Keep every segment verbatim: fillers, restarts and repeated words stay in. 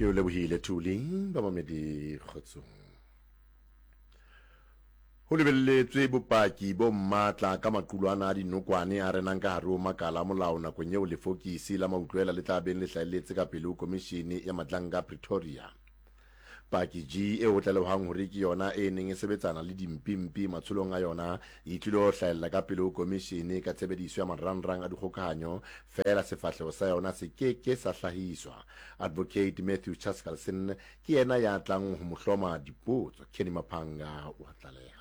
Ke o lebohile Thuli, bamamedi kgotsong. Ho lebelletswe bopaki bo matla ka maqulwana a dinokwane a renang ka hare ho makala a molao nakong eo lefokisi la mautlwela le tla beng le hlahelletse ka pele ho Komishene ya Madlanga Pretoria. Paki G eo ho tlalehwang hore ke yona e neng e sebetsana le dimpimpi matsholong a yona e tlilo hlahella ka pele ho komishene ka tshebediso ya marangrang a dikgokahanyo feela sefahleho sa yona se ke ke sa hlahiswa. Advocate Matthew Chaskalson ke yena ya tlang ho mo hloma dipotso. Kenny Maphanga o a tlaleha.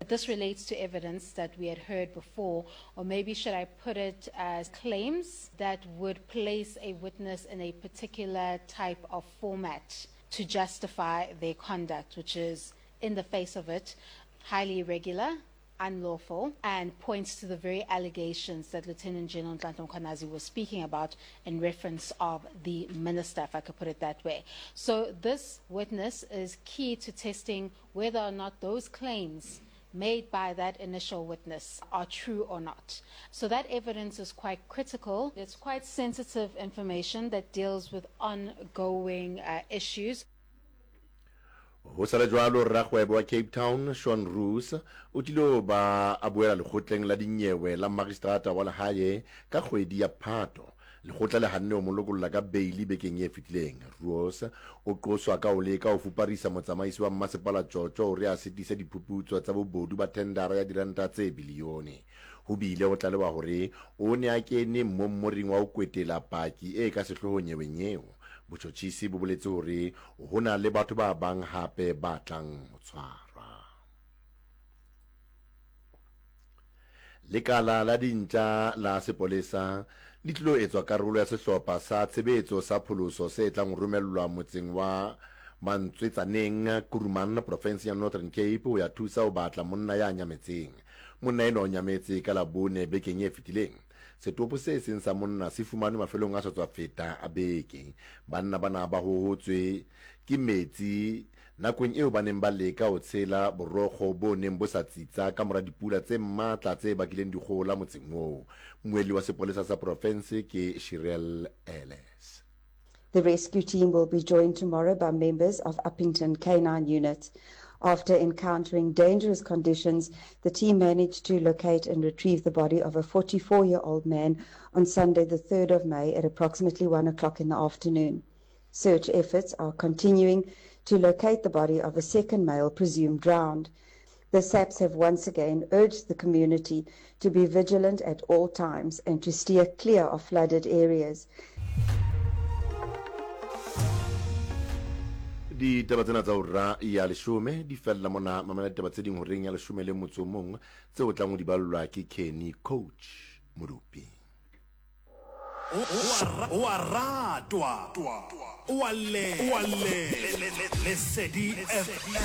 This relates to evidence that we had heard before, or maybe should I put it as claims that would place a witness in a particular type of format to justify their conduct, which is, in the face of it, highly irregular, unlawful, and points to the very allegations that Lieutenant General Nhlanhla Mkhwanazi was speaking about in reference of the minister, if I could put it that way. So this witness is key to testing whether or not those claims made by that initial witness are true or not. So that evidence is quite critical. It's quite sensitive information that deals with ongoing uh, issues. Ho sa le jwalo, rakgwebo wa Cape Town, Sean Roos, o tlilo ba a boela lekgotleng la dinyewe la magistrata wa lehae ka kgwedi ya Phato. Lekgotla le hanne ho mo lokolla ka beili bekeng e fetileng. Roos o qoswa ka ho leka ho fuparisa motsamaisi wa mmasepala Tjotjo hore a sitise diphuputso tsa bobodu ba thendara ya diranta tse biliyone. Ho bile ho tlalewa hore o ne a kene mmommoring wa ho kwetela paki e ka sehloohong nyeweng eo. Botjhotjhisi bo boletse hore ho na le batho ba bang hape ba tlang ho tshwarwa. Lekala la dintja la sepolesa le tlilo etswa karolo ya sehlopha sa tshebetso sa pholoso se tlang ho romellwa motseng wa Mantswetsaneng, Kuruman, profenseng ya Northern Cape ho ya thusa ho batla monna ya nyametseng. Monna enwa o nyametse ka Labone bekeng e fetileng. Setopo se seng sa monna se fumanwe mafelong a sa tswa feta a beke. Banna bana ba hohotswe ke metsi nakong eo ba neng ba leka ho tshela borokgo bo neng bo sa tsitsa ka mora dipula tse matla tse bakileng dikgohola motseng oo. Mmuelli wa sepolesa sa profense ke Shirel Ellis. The rescue team will be joined tomorrow by members of Upington Canine Unit. After encountering dangerous conditions, the team managed to locate and retrieve the body of a forty-four-year-old man on Sunday, the third of May, at approximately one o'clock in the afternoon. Search efforts are continuing to locate the body of a second male presumed drowned. The S A Ps have once again urged the community to be vigilant at all times and to steer clear of flooded areas. Ditaba tsena tsa hora ya leshome di fella mona. Mamela ditaba tse ding horeng ya leshome le motso o mong tseo tlang ho di ballwa ke Kenny Coach Modupi. O a ratwa, o a le, o a le, Lesedi F M.